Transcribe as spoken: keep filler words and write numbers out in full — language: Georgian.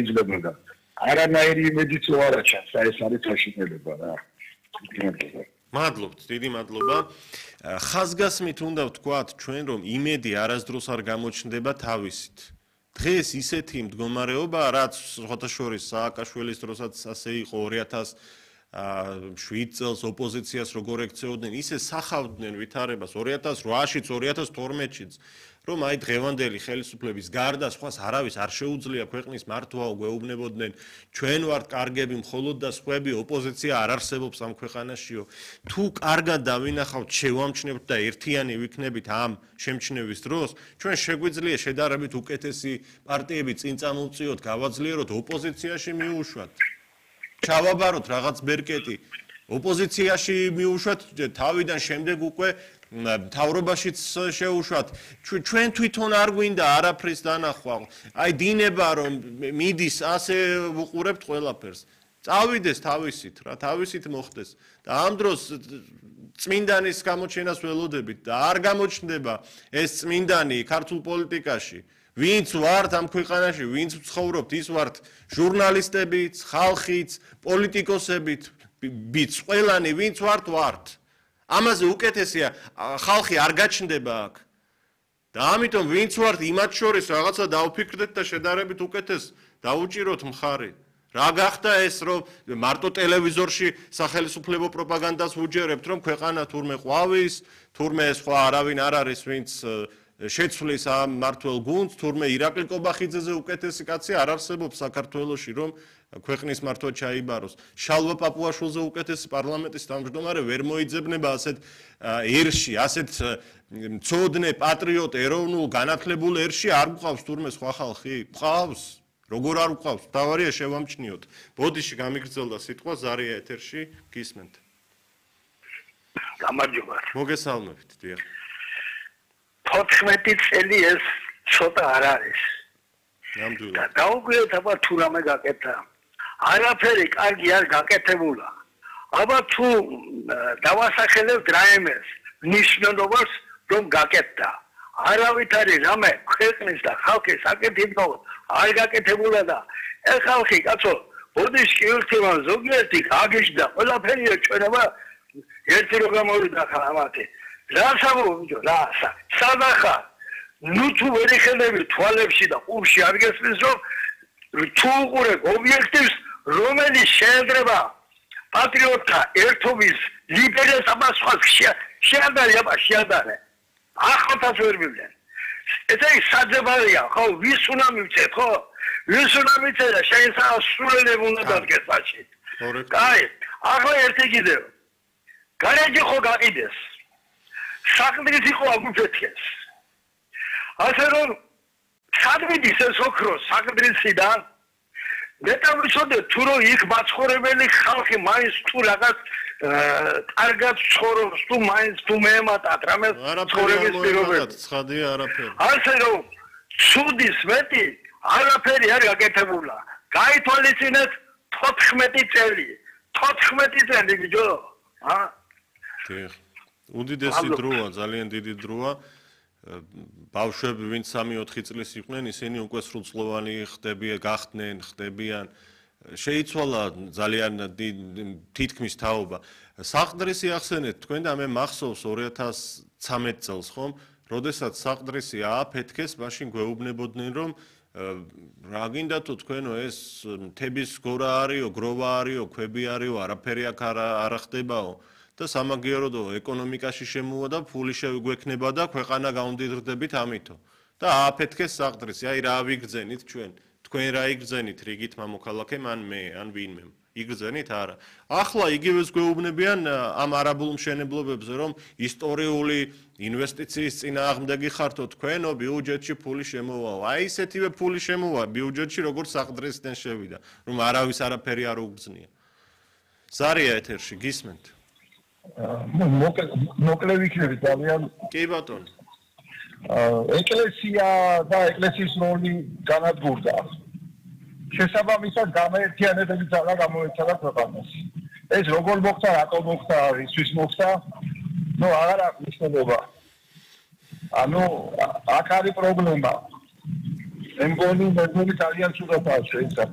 იძლებოდა. არანაირი იმედიც არ აჩანს, ეს არის თაშინელება რა. მადლობთ, დიდი მადლობა. ხაზგასმით უნდა ვთქვათ ჩვენ რომ იმედი არასდროს არ გამოჩნდება თავისით. დღეს ისეთი მდგომარეობა, რაც სხვათა შორის სააკაშვილის დროსაც ასე იყო ორი ათას შვიდ წელს ოპოზიციას როგორ ექცეოდნენ, ისე სახავდნენ ვითარებას ორი ათას რვაშიც, ორი ათას თორმეტშიც, რომ აი დღევანდელი ხელისუფლების გარდა სხვას არავის არ შეუძლია ქვეყნის მართვა გვეუბნებოდნენ, ჩვენ ვართ კარგები, მხოლოდ და სხვები ოპოზიცია არ არსებობს ამ ქვეყანაშიო. თუ კარგად დავინახავთ, შევამჩნევთ და ერთიანი ვიქნებით ამ შემჩნევის დროს, ჩვენ შეგვიძლია შედარებით უკეთესი პარტიები წინ წამოვწიოთ, გავაძლიეროთ, ოპოზიციაში მიუშვათ. ჩავაბაროთ რაღაც ბერკეტი, ოპოზიციაში მიუშვათ, თავიდან შემდეგ უკვე მთავრობაშიც შეუშვათ. ჩვენ თვითონ არ გვინდა არაფრის დანახვა. აი დინება რომ მიდის ასე ვუყურებთ ყველაფერს. წავიდეს თავისით რა, თავისით მოხდეს. და ამ დროს წმინდანის გამოჩენას ველოდებით და არ გამოჩნდება ეს წმინდანი ქართულ პოლიტიკაში. ვინც ვართ ამ ქვეყანაში, ვინც ვცხოვრობთ, ის ვართ ჟურნალისტებიც, ხალხიც, პოლიტიკოსებიც, ბიც ყველანი, ვინც ვართ, ვართ. ამაზე უკეთესია ხალხი არ გაჩნდება აქ. და ამიტომ ვინც ვართ იმათ შორის რაღაცა დავფიქრდეთ და შედარებით უკეთეს დაუჭიროთ მხარი. რა გახდა ეს რომ მარტო ტელევიზორში სახელმწიფო პროპაგანდას ვუჯერებთ რომ ქვეყანა თურმე ყვავის, თურმე სხვა არავინ არ არის ვინც შეცვლის ამ მართლ გუნდს, თურმე ირაკლი კობახიძეზე უკეთესი კაცი არ არსებობს საქართველოში რომ ქვეყნის მართვა ჩაიბაროს. შალვა პაპუაშვილზე უკეთესი პარლამენტის თავმჯდომარე ვერ მოიძებნება ასეთ ერში, ასეთ მცოდნე პატრიოტ ეროვნულ განათლებულ ერში არ გვყავს თურმე სხვა ხალხი? გვყავს? როგორ არ გვყავს? თავარია შევამჩნიოთ. ბოდიში გამიგრძელდა სიტყვა ზარია ეთერში, გისმენთ. გამარჯობა. მოგესალმებით, დიახ. თოთხმეტი წელი ეს ცოტა არ არის. ნამდვილად. და დაუკვირდეთ აბა თუ რამე გაკეთა. არაფერი კარგი არ გაკეთებულა. აბა თუ დავასახელებთ რაიმეს ნიშნულობას რომ გაკეთდა. არავით არის რამე ქვეყნის და ხალხის საკეთებო არ გაკეთებულა და ეს ხალხი კაცო ბოდიში ერთმა ზოგიერთი გაგეშდა ყველაფერი ჩვენება ერთი რო გამოვიდა ხალხი. რა სამოვიჯო რა სადახა ნუ თუ ვერ იხელები თვალებში და ყურში არ გესმის რომ თუ უყურებ ობიექტივს რომელიც შეედრება პატრიოტთა ერთობის ლიდერებს აბა სხვა შეადარე აბა შეადარე ახალთას ვერ მივდნენ ესე ის საძებარია ხო ვის უნდა მივცეთ ხო ვის უნდა მივცეთ და შეიძლება სულელებ უნდა დადგეს პაჩი კაი ახლა ერთი კიდევ გარაჯი ხო გაყიდეს საყდრის იყო აგუფეთეს ასე რომ სადმიდის ეს ოქრო საყდრისიდან მეტავიცოდე თუ რომ იქ მაცხოვრებელი ხალხი მაინც თუ რაღაც კარგად ცხოვრობს თუ მაინც თუ მეემატათ რამე ცხოვრების პირობები ცხადია არაფერი ასე რომ ცუდის მეტი არაფერი არ გაკეთებულა გაითვალისწინეთ თოთხმეტი წელი თოთხმეტი წელი ბიჭო ა დიახ უდიდესი დროა ძალიან დიდი დროა ბავშვები ვინც სამი ოთხი წლის იყვნენ ისინი უკვე სრულწლოვანი ხდებიან გახდნენ ხდებიან შეიცვალა ძალიან თითქმის თაობა საყდრისი ახსენეთ თქვენ და მე მახსოვს ორი ათას ცხრამეტ წელს ხომ როდესაც საყდრისი ააფეთქეს მაშინ გვეუბნებოდნენ რომ რა გინდათო თქვენო ეს მთების გორა არისო გროვა არისო ქვები არისო არაფერი აქ არ ხდებაო და სამაგიეროდო ეკონომიკაში შემოვა და ფული შეგვექნება და ქვეყანა გავამდიდრდებით ამითო და ააფეთქეს საყდრისი აი რა ვიგრძენით ჩვენ თქვენ რა იგრძენით რიგით მამოქალაქემ ან მე ან ვინმე იგრძენით არა ახლა იგივეს გვეუბნებიან ამ არაბულ მშენებლობებზე რომ ისტორიული ინვესტიციის წინააღმდეგი ხართო თქვენო ბიუჯეტში ფული შემოვაო აი ესეთივე ფული შემოვა ბიუჯეტში როგორც საყდრისიდან შევიდა რომ არავის არაფერი არ უგრძნია ზარია ეთერში გისმენთ მოკლე ვიქნები ძალიან კი ბატონო ეკლესია და ეკლესიის როლი განადგურდა შესაბამისად გამაერთიანებები ძალა გამოეცადა ქვეყანას ეს როგორ მოხდა რატომ მოხდა ისთვის მოხდა ნუ აღარ აქვს მნიშვნელობა ანუ აქ არის პრობლემა მე მგონი მე მგონი ძალიან ცუდაა შეიძლება